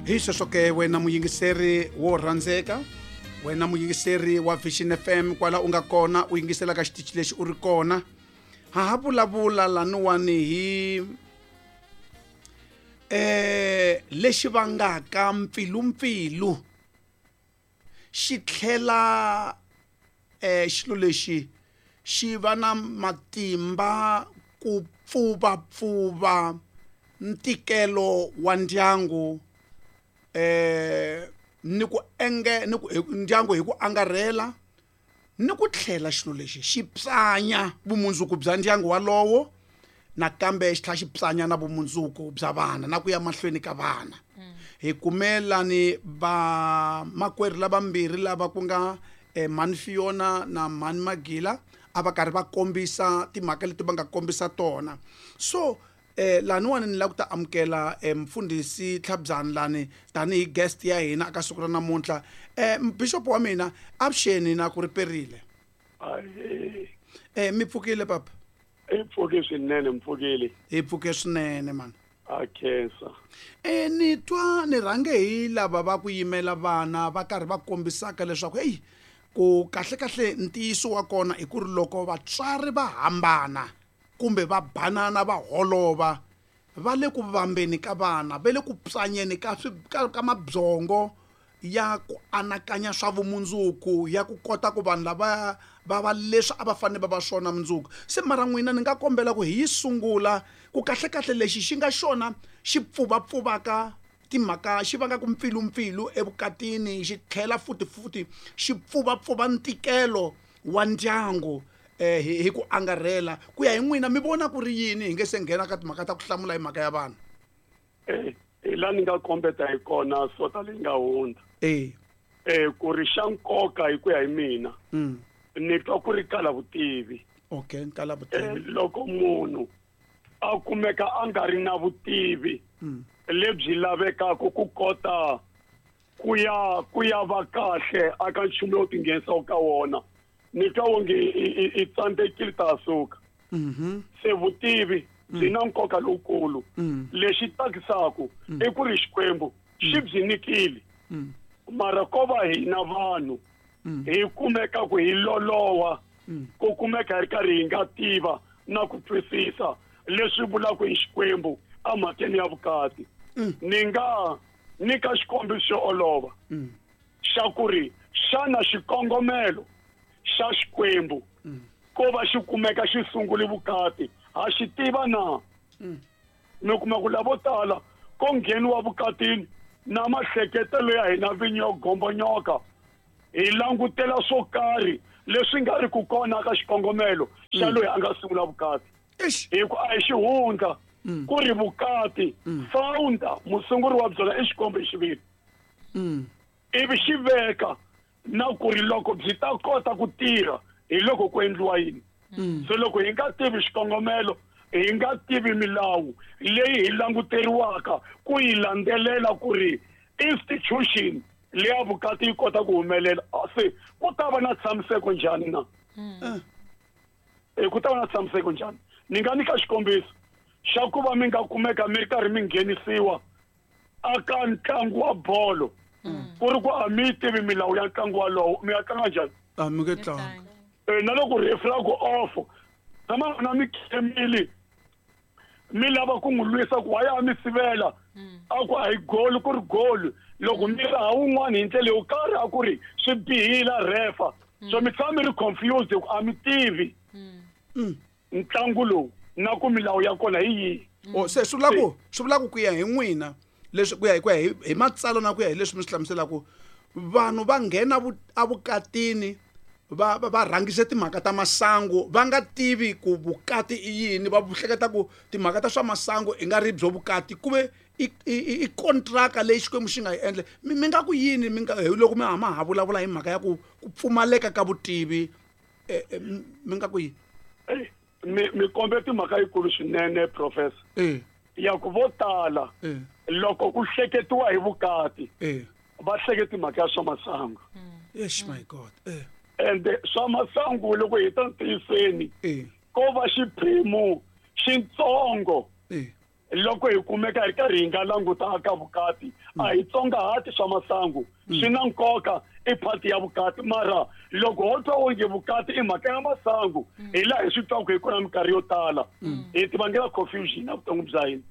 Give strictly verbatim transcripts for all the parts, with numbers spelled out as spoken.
Hi sweswo ke wena muyingiseri wo rhandzeka, wena muyingiseri wa Vision F M kwala u nga kona u yingisela ka xitichi lexi u ri kona. Ha ha vulavula laniwani hi eh lexi vangaka mpfilumpfilu xi tlhela eh xilo lexi xi va na matimba ku pfuvapfuva ntikelo wa ndyangu eh ni ku enge ni ku ndyangu hi ku angarhela ni ku tlhela xilo lexi xi psanya vumundzuku bya ndyangu walowo nakambe xi tlhela xi psanya na vumundzuku bya vana na ku ya mahlweni ka vana. Hi kumelani va makwerhu lavambirhi lava ku nga eh, Mhani Fiona na Mhani Magila a va karhi va kombisa timhaka leti va nga kombisa tona. So eh laniwani ni lava ku ta amukela eh, mfundhisi Tlhabyani lani tanihi guest ya hina aka siku ra namuntlha. Eh bishop wa mina avuxeni na ku riperile. Eh mi pfukile papa? Hi pfuke swinene, mpfukile. Hi pfuke swinene man. A khensa. Eh ni twa ni rhange hi lava va ku yimela vana va karhi va kombisaka leswaku hey ku kahle kahle ntiyiso wa kona i ku ri loko vatswari va hambana kumbe va banana va holova va le ku vambeni ka vana, va le ku psanyeni ka ka, ka mabyongo ya ku anakanya swa vumundzuku, ya ku kota ku vanhu lava va va leswi a va fanele va va swona mundzuku. Se mara n'wina ni nga kombela ku hi yi sungula ku kahle kahle lexi xi nga xona xi pfuvapfuvaka timhaka xi vangaka mpfilumpfilu evukatini, xi tlhela futi futi xi pfuvapfuva ntikelo wa ndyangu eh hi, hi ku angarhela. Ku ya hi n'wina mi vona ku ri yini hi nge se nghena ka timhaka ta ku hlamula hi mhaka ya vanhu? Eh hi laha ni nga kombeta hi kona sota leyi nga hundza. Eh. Eh ku ri xa nkoka hi ku ya hi mina. Mm. Ni twa ku ri kala vutivi. Okay, kala vutivi. Eh, loko munhu a kumeka a nga ri na vutivi mm. lebyi lavekaka ku kota ku ya ku ya va kahle aka nchumu lowu tinghenisaka ka wona, ni twa wonge i tsandzekile ta suka. Mhm. Se vutivi byi na nkoka lowukulu. Lexi tsakisaka i ku ri Xikwembu xi byi nyikile. Mara ko va hina vanhu hi kumeka ku hi loloha, ku kumeka hi ri karhi hi nga tiva na ku twisisa leswi vulaka hi Xikwembu emhakeni ya vukati. Ni nga nyika xikombiso xo olova xa ku ri xana xikongomelo xa Xikwembu ko va xi kumeka xi sungule vukati ha xi tiva na? Mi kuma ku lavo tala ko ngheniwa vukatini na mahleketelo ya hina vinyi yo gombonyoka, hi langutela swo karhi leswi nga ri ku kona ka xikongomelo xa loyi a nga sungula vukati. Hi ku a hi xihundla ku ri vukati founder musunguri wa byona i Xikwembu hi xiviri. Ivi xi veka na ku ri loko byi ta kota ku tirha hi loko ku endliwa yini. So loko hi nga tivi xikongomelo, hi nga tivi milawu leyi hi languteriwaka ku yi landzelela ku ri institution leya vukati yi kota ku humelela, se ku ta va na tshamiseko njhani na? Eh ku ta va na tshamiseko njhani? Ni nga nyika xikombiso xa ku va mi nga kumeka mi ri karhi mi nghenisiwa aka ntlangu wa bolo, ku ri ku a mi tivi milawu ya ntlangu walowo, mi ya tlanga njhani? A mi nge tlangi. Eh na loko referee a ku off, tshama na mi khemile mi lava ku n'wi lwisa ku waya a mi sivela, a ku a hi goal ku ri goal, loko mi raha wun'wana hi ndlela yo karhi a ku ri swi bihile refa. So mi tshama mi ri confused ku a mi tivi ntlangu lowu na ku milawu ya kona hi yihi. Oh, se swi vula ku swi vula ku ku ya hi n'wina leswi ku ya hi ku ya hi, hi matsalwa na ku ya hi leswi mi swi hlamuselaka, vanhu va nghena evukatini va, va, va rhangise timhaka ta masangu va nga tivi ku vukati i yini, va hleketa ku timhaka ta swa masangu i nga ri byo vukati, ku ve i, i, i kontraka leyi Xikwembu xi nga yi endla. Mi, mi nga ku yini mi nga, loko mi hama ha vulavula hi mhaka ya ku, ku pfumaleka ka vutivi, eh, eh, mi nga ku yini? Eh, mi, mi kombe timhaka yikulu swinene, professor. Eh. Ya ku vo tala, Eh. loko ku hleketiwa hi vukati, Eh. va hleketi mhaka ya swa masangu. Yes, my God. Eh. Ende swa masangu loko hi ta ntiyiseni, Eh. ko va xiphemu xitsongo Eh. Loko hi kumeka hi karhi hi nga languta ka vukati a hi tsongahati swa masangu swi na nkoka i part ya vukati mara loko ho twa onge vukati i mhaka ya masangu hi laha hi swi twaka hi kona minkarhi yo tala hi ti vangela confusion evuton'wini bya hina.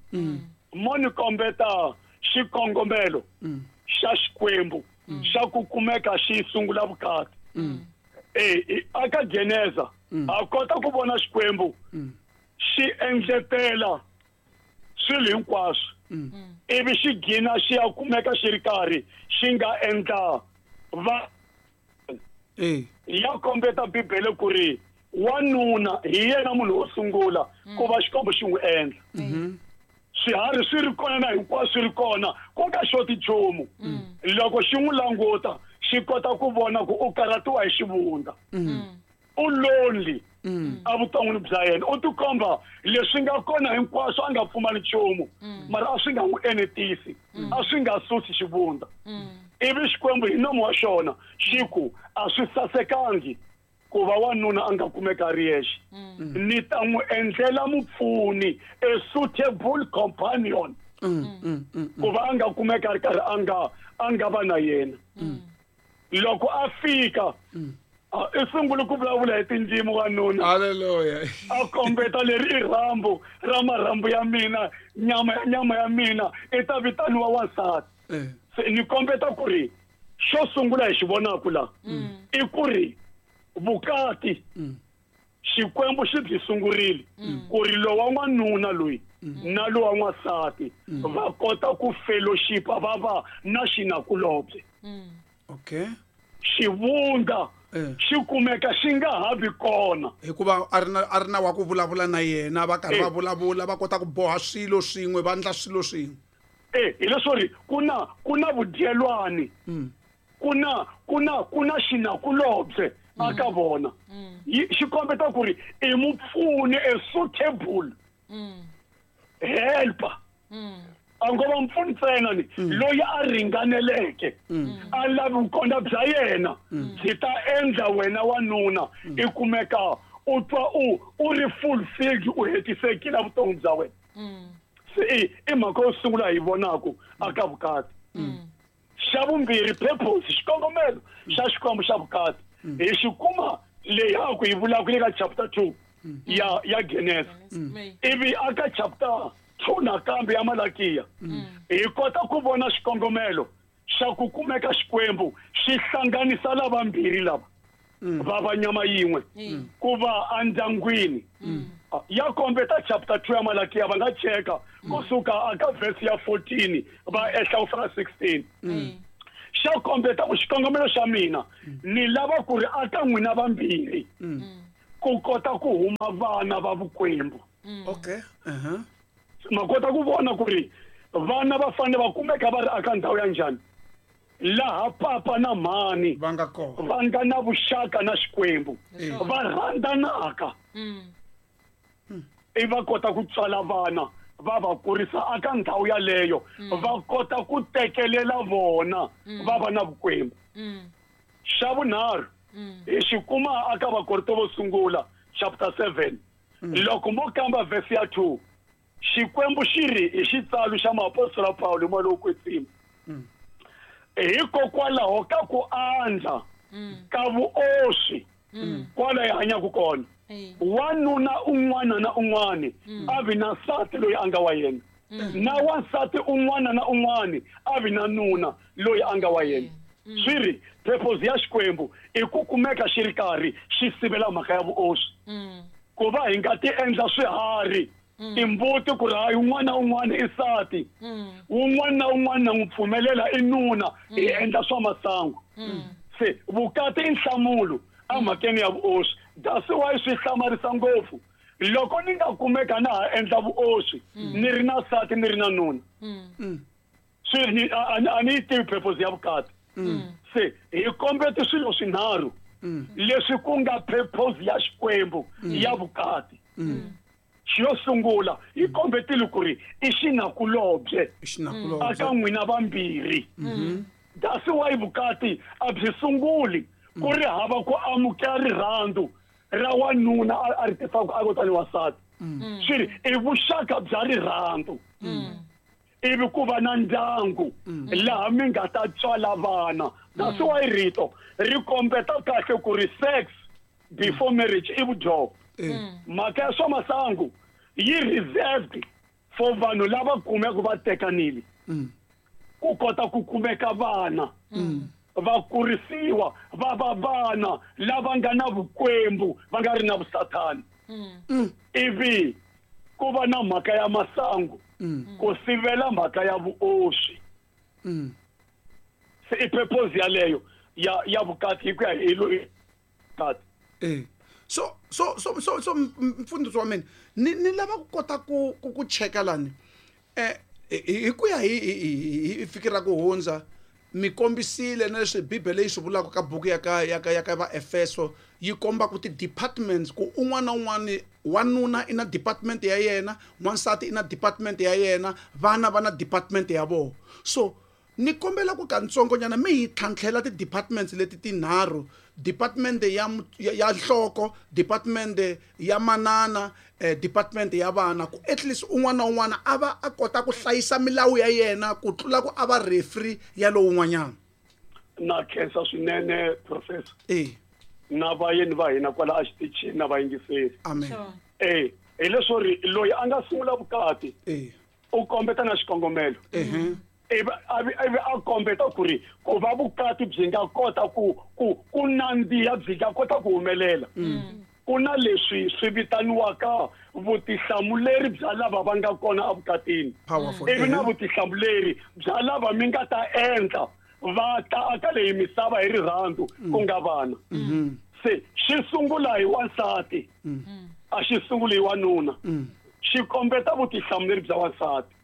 Mo ni kombeta xikongomelo xa Xikwembu xa ku kumeka xi sungula vukati. Eh aka Geneza a kota ku vona Xikwembu xi endletela swilo hinkwaswo ivi xi gina xi ya kumeka xi ri karhi xi nga endla va ya kombeta Bibele ku ri wanuna hi yena munhu wo sungula ku va Xikwembu xi n'wi endla. Swiharhi swi ri kona na hinkwaswo swi ri kona ku nga xoti nchumu. Loko xi n'wi languta xi kota ku vona ku u karhatiwa hi xivundza u lonely evuton'wini bya yena u tikomba leswi nga kona hinkwaswo a nga pfumali nchumu mara a swi nga n'wi enetisi a swi nga susi xivundza. Ivi Xikwembu hi nomu wa xona xi ku a swi sasekangi ku va wanuna a nga kumeka a ri yexe ni ta n'wi endlela mupfuni a suitable companion ku va a nga kumeka a ri karhi a nga a nga va na yena. Loko a fika i sungule ku vulavula hi tindzimi wanuna. Haleluya. A kombeta leri i rhambu ra marhambu ya mina nyama ya nyama ya mina i ta vitaniwa wansati. Se ni kombeta ku ri xo sungula hi xi vonaka la i ku ri vukati Xikwembu xi byi sungurile ku ri lowa n'wanuna loyi na lowa n'wansati va kota ku fellowship va va na xinakulobye. Okay. Xivundza xi kumeka xi nga ha vi kona hikuva a ri na a ri na wa ku vulavula na yena va karhi va vulavula va kota ku boha swilo swin'we va endla swilo swin'we. Eh hi leswo ri ku na ku na vudyelwani ku na ku na ku na xinakulobye aka vona xi kombeta ku ri i mupfuni a suitable helper a ngo va mpfuni ntsena ni loyi a ringaneleke a lavi vukona bya yena byi ta endla wena wanuna i kumeka u twa u u ri fulfilled u hetisekile vutomi bya wena. Se i i mhaka yo sungula hi vonaka aka vukati. Xa vumbirhi purpose xikongomelo xa Xikwembu xa vukati hi xi kuma leyi a ku yi vulaka le ka chapter two ya ya Genesis ivi aka chapter two nakambe ya Malakiya hi kota ku vona xikongomelo xa ku kumeka Xikwembu xi hlanganisa lavambirhi lava va va nyama yin'we ku va endyangwini. Ya kombeta chapter two ya Malakiya va nga cheka kusuka aka verse ya fourteen va ehla ku fika sixteen. Xa kombeta ku xikongomelo xa mina ni lava ku ri aka n'wina vambirhi ku kota ku huma vana va vukwembu. Okay. Uh-huh. Ma kota ku vona ku ri vana va fanele va kumeka va ri aka ndhawu ya njhani laha papa na mhani va nga kona va nga na vuxaka na Xikwembu va rhandzanaka i va kota ku tswala vana va va kurisa aka ndhawu yaleyo va kota ku tekelela vona va va na vukwembu. Xa vunharhu hi xi kuma aka Vakorinto vo sungula chapter seven loko mo kamba verse ya two Xikwembu xi ri hi xitsalo xa muapostola Pawulo moya lowo kwetsima hikokwalaho ka ku andza ka vuoswi kwala hi hanyaka kona wanuna un'wana na un'wana a vi na nsati loyi a nga wa yena na wansati un'wana na un'wana a vi na nuna loyi a nga wa yena. Swi ri purpose ya Xikwembu i ku kumeka xi ri karhi xi sivela mhaka ya vuoswi ku va hi nga ti endla swiharhi timbuti ku ri hayi un'wana na un'wana i nsati un'wana na un'wana na n'wi pfumelela i nuna hi endla swa masangu. Se vukati i nhlamulo emhakeni ya vuoswi. That's why swi hlamarisa ngopfu loko ni nga kumeka na ha endla vuoswi ni ri na nsati ni ri na nuna swi ni a ni yi tivi purpose ya vukati. Se hi kombete swilo swinharhu leswi ku nga purpose ya Xikwembu ya vukati. Xo sungula hi kombetile ku ri i xinakulobye aka n'wina vambirhi. That's why vukati a byi sunguli ku ri hava ku amukela rirhandzu ra wanuna a ri tisaka a kotani wansati. Swi ri i vuxaka bya rirhandzu. Ivi ku va na ndyangu laha mi nga ta tswala vana. That's why rito ri kombeta kahle ku ri sex before marriage i vudyoho. Mhaka ya swa masangu yi reserved for vanhu lava kumeka va tekanile. Ku kota ku kumeka vana. Va kurisiwa va va vana lava nga na vukwembu va nga ri na vusathani. Ivi ku va na mhaka ya masangu ku sivela mhaka ya vuoswi. Se i purpose yaleyo ya ya vukati hi ku ya hi vukati. Eh so so so so so mfundhisi wa mina ni ni lava ku kota ku ku cheka lani eh hi ku ya hi hi fikira ku hundza mi kombisile na leswi Bibele yi swi vulaka ka buku ya ka ya ka ya ka va Efeso yi komba ku ti departments ku un'wana na un'wana wanuna i na department ya yena, wansati i na department ya yena, vana va na department ya vona. So ni kombela ku kantsongonyana mi hi tlhantlhela ti departments leti tinharhu, department ya ya nhloko, department ya manana, eh, department ya vana, ku at least un'wana na un'wana a va a kota ku hlayisa milawu ya yena ku tlula ku a va referee ya lowun'wanyana. Na khensa swinene professor. Eh na vayeni va hina kwala a xitichini na vayingiseri. Amen. Eh hi leswo ri loyi a nga sungula vukati eh u kombeta na xikongomelo. Eh ivi ivi a kombeta ku ri ku va vukati byi nga kota ku ku ku nandziha byi nga kota ku humelela. Ku na leswi swi vitaniwaka vutihlamuleri bya lava va nga kona evukatini. Ivi na vutihlamuleri bya lava mi nga ta endla va ta aka leyi misava hi rirhandzu ku nga vana. Se xi sungula hi wansati, a xi sunguli hi wanuna. Xi kombeta vutihlamuleri bya wansati.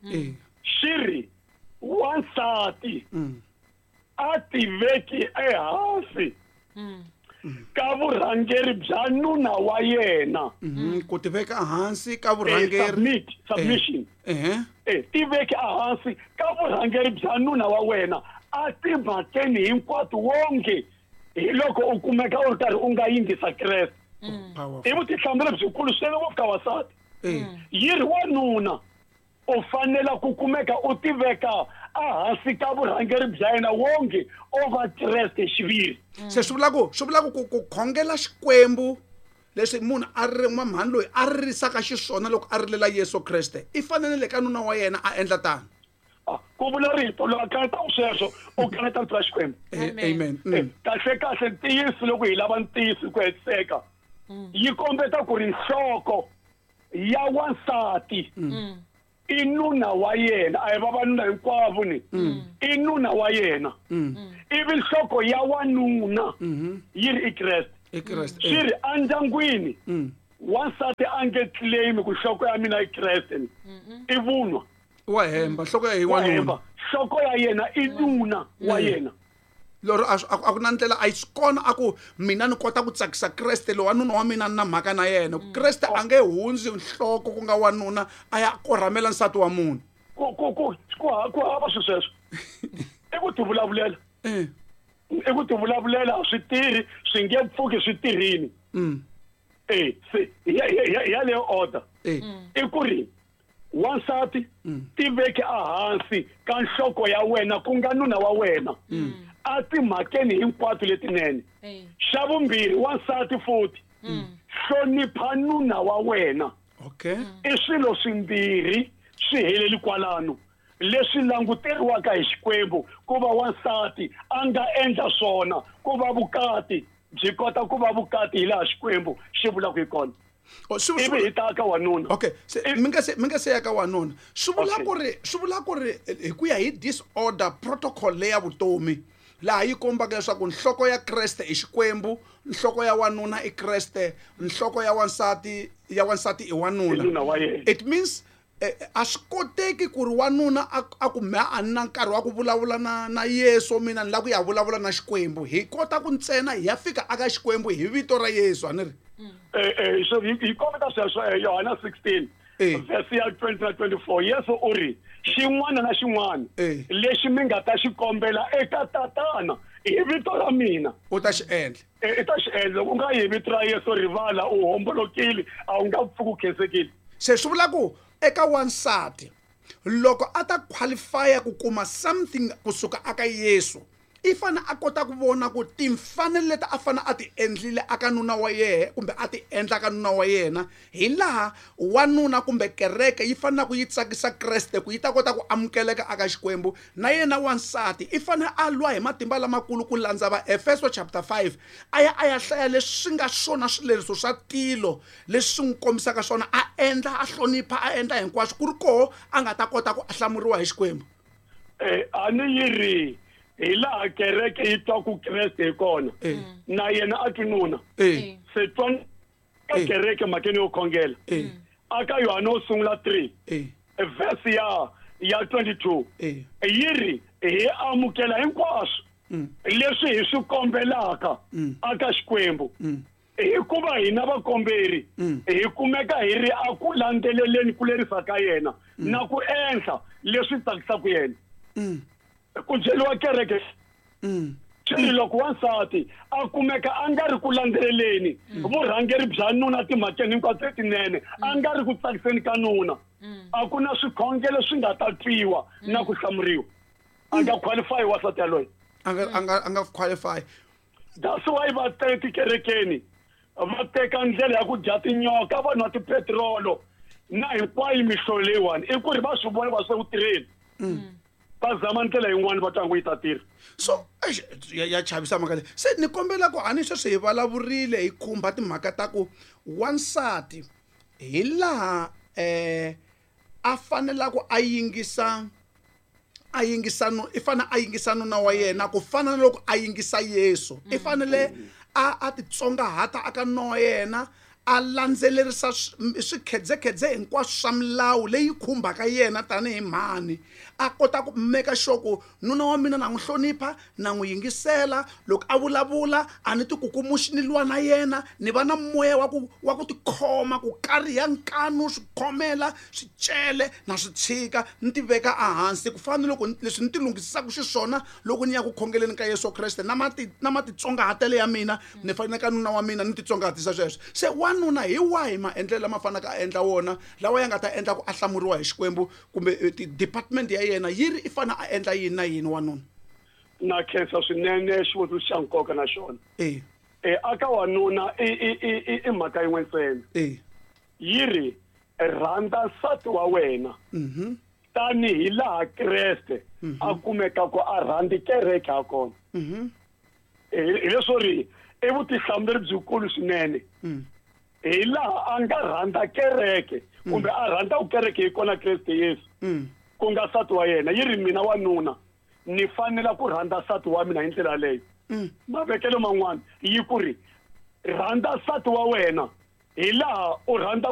Xi ri wansati a tiveki ehansi ka vurhangeri bya nuna wa yena. Ku tiveka ehansi ka vurhangeri, submission. Eh tiveki ehansi ka vurhangeri bya nuna wa wena a timhakeni hinkwato wonge hi loko u kumeka u ri karhi u nga yingisa Kreste. I vutihlamuleri byikulu swinene ngopfu ka wansati. Yi ri wanuna u fanela ku kumeka u tiveka ehansi ka vurhangeri bya yena wonge o va Kreste xiviri. Se swi vula ku swi vula ku ku khongela Xikwembu leswi munhu a ri n'wamhani loyi a ririsaka xiswona loko a rilela Yesu Kreste i fanele le ka nuna wa yena a endla tano. Ku vula rito loko a kaneta sweswo u kaneta rito ra Xikwembu. Amen. Kahle kahle ntiyiso loko hi lava ntiyiso ku hetiseka yi kombeta ku ri nhloko ya wansati i nuna wa yena, a hi vavanuna hinkwavo ni i nuna wa yena. Ivi nhloko ya wanuna yi ri i Kreste. Swi ri endyangwini wansati a nge claim ku nhloko ya mina i Kreste ni i vunwa. Wa hemba, nhloko ya hi wanuna. Nhloko ya yena i nuna wa yena. Lero a ku na ndlela a yi swi kona a ku mina ni kota ku tsakisa Kreste loyi wanuna wa mina ni na mhaka na yena. Kreste a nge hundzi nhloko ku nga wanuna a ya korhamela nsati wa munhu. Ku ku ku ku ku hava swi sweswo. I ku tivulavulela. I ku tivulavulela a swi tirhi, swi nge pfuki swi tirhini. Eh se ya ya yaleyo order. I ku ri wansati tiveki ehansi ka nhloko ya wena ku nga nuna wa wena. A timhakeni hinkwato letinene. Xa vumbirhi wansati futhi hlonipha nuna wa wena. Okay. I swilo swimbirhi swi heleli kwalano leswi languteriwaka hi Xikwembu ku va wansati a nga endla swona ku va vukati byi kota ku va vukati hi laha Xikwembu xi vulaka hi kona. Ivi hi ta ka wanuna. Okay, se mi nga se mi nga se ya ka wanuna. Swi vula ku ri swi vula ku ri hi ku ya hi disorder protocol leya vutomi laha yi kombaka leswaku nhloko ya Kreste i Xikwembu, nhloko ya wanuna i Kreste, nhloko ya wansati ya wansati i wanuna. It means a swi koteki ku ri wanuna a ku me a na nkarhi wa ku vulavula na na Yesu mina ni lava ku ya vulavula na Xikwembu. Hi kota ku ntsena hi ya fika aka Xikwembu hi vito ra Yesu, a ni ri? Eh eh so hi kombeta sweswo Yohana sixteen verse ya twenty na twenty-four Yesu u ri xin'wana na xin'wana lexi mi nga ta xi kombela eka Tatana hi vito ra mina u ta xi endla. I ta xi endla. Loko u nga yi hi vito ra Yesu rivala u hombolokile a wu nga pfuki u khensekile. Se swi vula ku eka wansati Loko a ta qualify ku kuma something kusuka aka Yesu, i fane a kota ku vona ku timfanelo leti a fane a ti endlile aka nuna wa yehe kumbe a ti endla ka nuna wa yena, hi laha wanuna kumbe kereke yi fanele ku yi tsakisa Kreste ku yi ta kota ku amukeleka aka Xikwembu. Na yena wansati i fane a lwa hi matimba lamakulu ku landza va Efeso chapter five, a ya a ya hlaya leswi nga swona swileriso swa tilo leswi swi n'wi kombisaka swona, a endla, a hlonipha, a endla hinkwaswo ku ri koho a nga ta kota ku hlamuriwa hi Xikwembu. Eh, a ni yi ri hi laha kereke yi twaku Kreste hi kona, na yena a twi nuna. Se twa ka kereke mhakeni yo khongela aka Yohane wo sungula three verse ya ya twenty-two yi ri hi amukela hinkwaswo leswi hi swi kombelaka aka Xikwembu, hikuva hina vakomberi hi kumeka hi ri a ku landzeleleni ku lerisa ka yena na ku endla leswi tsakisaka yena. Ku byeriwa kereke swi loko wansati a kumeka a nga ri ku landzeleleni vurhangeri bya nuna timhakeni hinkwato letinene, a nga ri ku tsakiseni ka nuna, a ku na swikhongelo swi nga ta twiwa na ku hlamuriwa. A nga qualify wansati yaloye, a nga a nga a nga qualify. That's why va teka tikerekeni va teka ndlela ya ku dya tinyoka, va nwa tipetirolo na hinkwayo mihlovo leyiwani, i ku ri va swi vona va swi ku tirheni, va zama ndlela yin'wana va twangu yi ta tirha. So ya, ya chavisa mhaka leyi. Se ni kombela ku hani sweswi hi vulavurile hi khumba timhaka ta ku wansati hi laha eh a fanela ku a yingisa a yingisa no i fanele a yingisa nuna wa yena ku fana na loko a yingisa Yesu. I fanele a a titsongahata aka nuna wa yena, a landzelerisa swikhedzekhedze hinkwaswo swa milawu leyi khumbaka yena tanihi mhani, a kota ku make sure ku nuna wa mina na n'wi hlonipha, na n'wi yingisela, loko a vulavula a ni tikukumuxi ni lwa na yena, ni va na moya wa ku wa ku tikhoma, ku kariha nkanu, swikhomela, swicele na swi tshika, ni ti veka ehansi ku fana na loko leswi ni ti lunghisisaka xiswona loko ni ya ku khongeleni ka Yesu Kreste, na mati na matitsongahatelo ya mina ni fanele ka nuna wa mina ni titsongahatisa sweswo. Se wanuna hi wahi maendlelo lama fanaka a endla wona lawa ya nga ta endla ku a hlamuriwa hi Xikwembu, kumbe department ya yena yi ri i fana a endla yini na yini wanuna? Na khensa swinene xivutiso xa nkoka na xona. Eh eh aka wanuna i i i i mhaka yin'we ntsena. Eh yi ri rhandza nsati wa wena mhm tanihi laha Kreste a kumeka ku a rhandzi kereke ha kona. Mhm hi leswo ri i vutihlamuleri byikulu swinene. Hi laha a nga rhandza kereke kumbe a rhandza ku kereke hi kona Kreste Yesu ku nga nsati wa yena. Yi ri mina wanuna ni fanela ku rhandza nsati wa mina hi ndlela yaleyo. Mavekelo man'wana yi ku ri rhandza nsati wa wena hi laha u rhandza